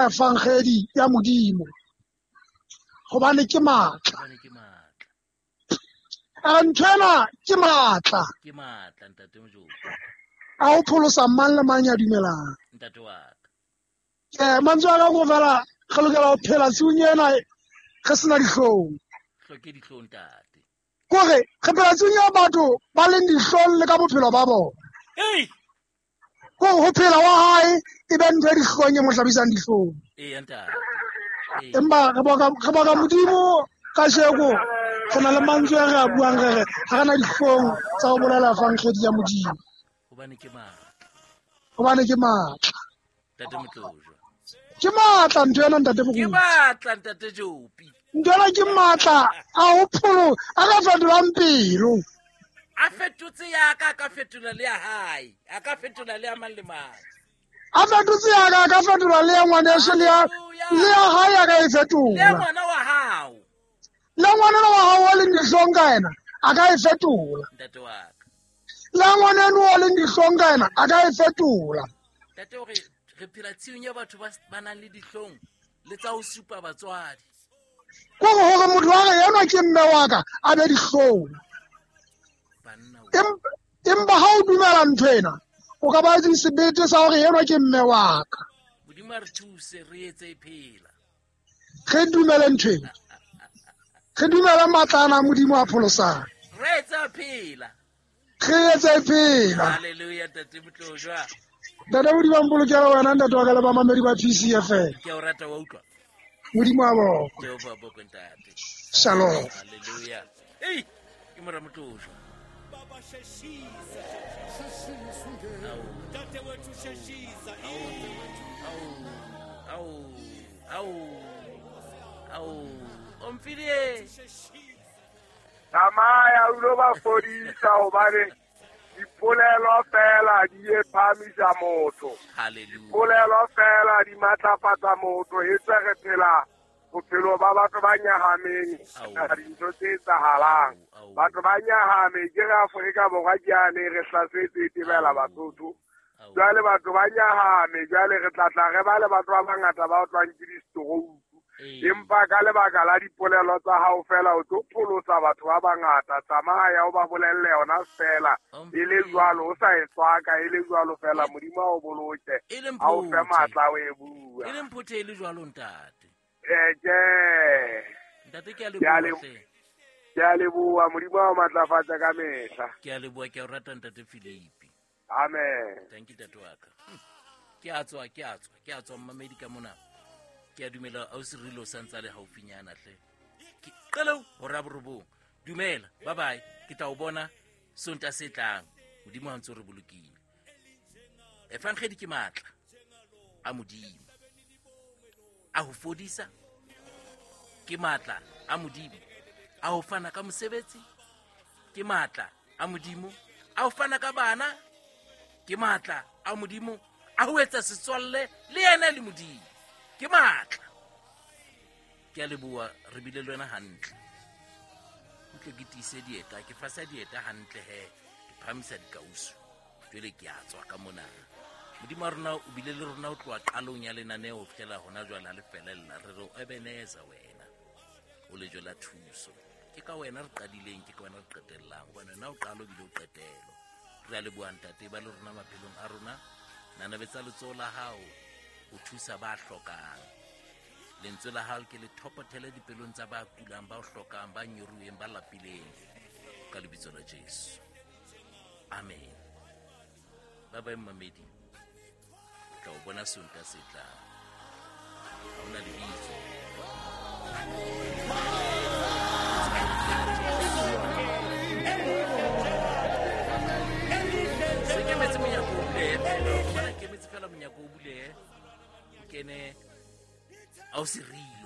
Evangedi ya Modimo gobane ke maatla. Hobane ke matla. A ntho ena ke maatla Ke matla ntate Mojopi. a ho pholosa mang le mang ya dumelang. Ntate wa ka. Mantswe a ka ko fela re lokela ho phela tshiung ena re sena dihlong. Hloke dihlong ntate. Kore re phela tshiung ya batho ba leng dihlong le ka bophelo ba bona. Ei! Kore ho phela wa hae e be ntho e dihlong e mo hlabisang dihlong. Eya ntate. Ee. Empa re boka Modimo kajeko re na le mantswe a re a buang re re ha re na dihlong tsa ho bolela evangedi ya Modimo. Hobane ke matla. Hobane ke matla. Ntate Motlojwa. Ke matla ntho ena ntate Ke Moruti. matla ntate Jopi. Ntho ena ke matla a ho pholo a ka fetolang pelo. A fetotse ya ka, a ka fetola le ya hae. A ka fetola le ya mang le mang. A fetotse ya ka, a ka fetola le ya ngwaneso le ya hae a ka e Le ya fetola. ngwana wa hao. Le ngwaneno wa hao o leng dihlong ka ena a ka e fetola. Ntate wa ka. Le ngwaneno o leng dihlong ka ena a ka e fetola. Ntate hore re phela tshiung ya batho ba nang le dihlong le tsa ho supa batswadi. Kore hore motho wa re enwa ke mme wa ka a be dihlong. Banna o. Empa ha o dumela ntho ena o ka ba le sebete sa hore enwa ke mme wa ka. Modimo a re thuse re etse e phela. Re dumele ntho ena. Re dumele matla ana a Modimo a pholosang. Re etse a phela. Re etse e phela. Hallelujah ntate Motlojwa. Ntate Modimo a mpolokele wena ntate wa ka le bamamedi ba PCFM. Ke a o rata wa utlwa. Modimo a bokwe. Jehova bokwe ntate. Shalom. Hallelujah. Ei, ke mora Motlojwa. Baba sheshisa. Ntate wethu sheshisa. Au, au, au. Omphile. Tsamaya o lo ba fodisa hobane dipolelo fela di e phahamisa motho. Hallelujah. Polelo fela di matlafatsa motho e tswe re phela bophelo ba batho ba nyahameng dintho tse etsahalang. Batho ba nyahame ke re Afrika Borwa ke yane re hlasetse e tebela Basotho. Jwale batho ba nyahame jwale re tla tla re ba le batho ba bangata ba otlwang ke di-stroke. Empa ka lebaka la dipolelo tsa hao fela o tlo pholosa batho ba bangata. Tsamaya o ba bolelle yona fela e le jwalo o sa e tswaka e le jwalo fela Modimo a o boloke a o fe matla o e bua. E le mphothe e le jwalo ntate. Ke Ntate ke a leboha hle. Ke a leboha Modimo a o matlafatsa ka mehla. Ke a leboha ke a o rata ntate Philipi. Amen. Thank you ntate wa ka. Ke a tswa mmamedi ka mona. Ke a dumela ausi Rilo sa ntse a le haufinyana hle. Ke qelo hora borobong. Dumela, bye bye. Ke tla o bona Sonta se tlang. Modimo ha ntse o re bolokile. Evangedi ke matla a Modimo. A ho fodisa ke matla a Modimo. A ho fana ka mosebetsi ke matla a Modimo. A ho fana ka bana ke matla a Modimo. A ho etsa setswalle le yena le Modimo ke matla. Ke a leboha re bile le wena hantle. Utlwe ke tiise dieta, ke fasa dieta hantle he, ke phahamisa dikausu. Jwale ke a tswa ka mona. Modimo wa rona o bile le rona ho tloha qalong ya lenaneo ho fihlela hona jwale ha le felella. Re re o Ebenezer wena, o lejwe la thuso. Ke ka wena re qadileng, ke ka wena re qetellang, hobane wena o qalo ebile o qetelo. Re a leboha ntate ba le rona maphelong a rona. Nanabetsa letsoho la hao ho thusa ba hlokang. Lentswe la hao ke le thopothele dipelong tsa ba kulang, ba hlokang, ba nyoruweng, ba lapileng. Ka lebitso la Jesu. Amen. Ba bye mmamedi. Tla o bona Sonta se tlang. Ha hona lebitso. Se kemetse monyako o bulehe fela. Bona kemetse fela monyako o bulehe. O kene ausi Rilo.